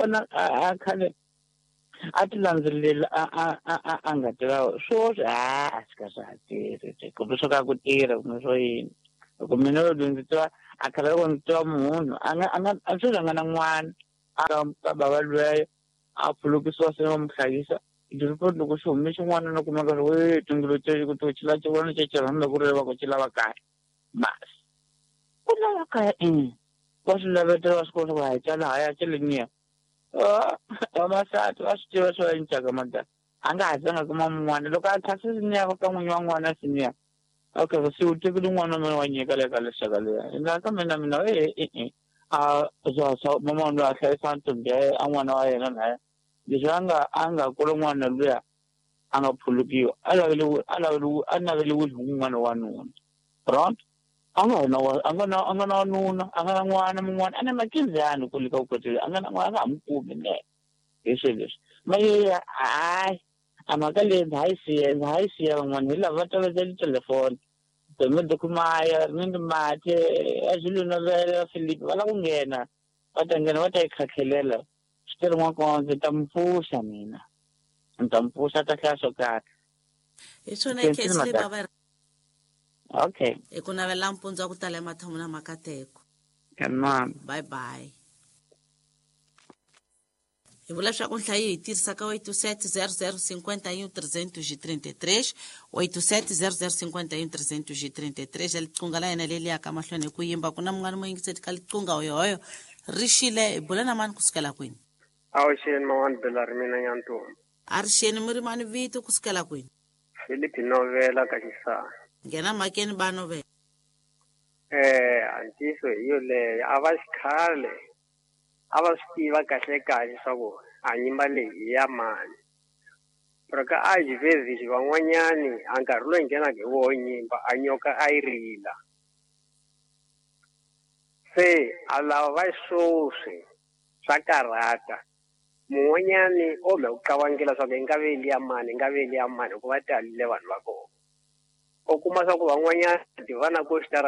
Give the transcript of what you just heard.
Vona a khale a ti landzelela a nga tiva swoswi a swi ka swa ha tirhi kumbe swo ka ku tirha kumbe swo yini. Loko mina loko ndzi tiva a khale loko ndzi tiva munhu a nga a nga a sweswi a nga na n'wana a ka bava lweyo a phulukisiwa se va mu hlayisa ti-report loko xi hume xin'wana no kumeka ri we tingulu ku to xi la xi vona xi rhandza ku ri va ku xi lava kaya masi ku lava kaya i va swi lavetela va swi kota ku hayi cala haya cele niya vamasati va swi tiva swo encaka madala a nga ha zanga kuma mun'wana loko a kha se niya ka n'winyi wa n'wana se niya okay se u tekile n'wana wa mina wa nyika le ka lexaka leya ina ka mina mina e e e a swa mama loyi a hlayisa ntombi ya a n'wana wa yena naye leswi a nga kula n'wana luya a nga phulukiwa a lavele a lavele a naveliwile hi un'wana wa nuna right a nga na a nga na a nga na wanuna a nga na n'wana mun'wana a na makinzani kule ka vukoti a nga na n'wana a nga ha n'wi kumi ne hi swilo leswi maye hayi a mhaka leyi ndza ha yi siya ndza ha yi siya van'wana hi lava va tolovele telefoni Domedo Kumaya Rmindo Mathe a Zulu Novela Philip va lava ku nghena va ta nghena va ta yi khakhelela swi tele n'wakondzo ndzi ta mi pfuxa mina ndzi ta mi pfuxa ta hlaya swo karhi hi swona case leyi va va okay hi ku navela mpundzu wa ku tala emathamu na makateko tamam bye bye hi vula leswaku nhlayo yi tirhisa ka 87 00 51 333 87 00 51 333 ya liqunga la yena leri yaka mahlweni hi ku yimba ku na mun'wana muyingiseti ka liqunga hoyohoyo ri xile hi bula na mani kusukela kwini Avuxeni man'wani Bela ri mina Nyantombi. A ri xeni mi ri mani vito kusukela kwini? Philip Novela ka Xisana. Nghena mhakeni ba Novela. Eh, a ntiyiso hi yoleyo a va xikhale a va swi tiva kahle kahle swa ku a nyimba leyi hi ya mani. Pero ka a xivezixi van'wanyani a nkarhi loyi nghenaka hi woho nyimba a nyoka a yi rila. Se a lava va swoswi swa karhata. Mun'wanyani o me ku qavangela swa ku i nga ve liya mani, i nga ve liya mani hikuva talile vanhu va kona. U kuma swa ku van'wanyana tivana ku xitarateni.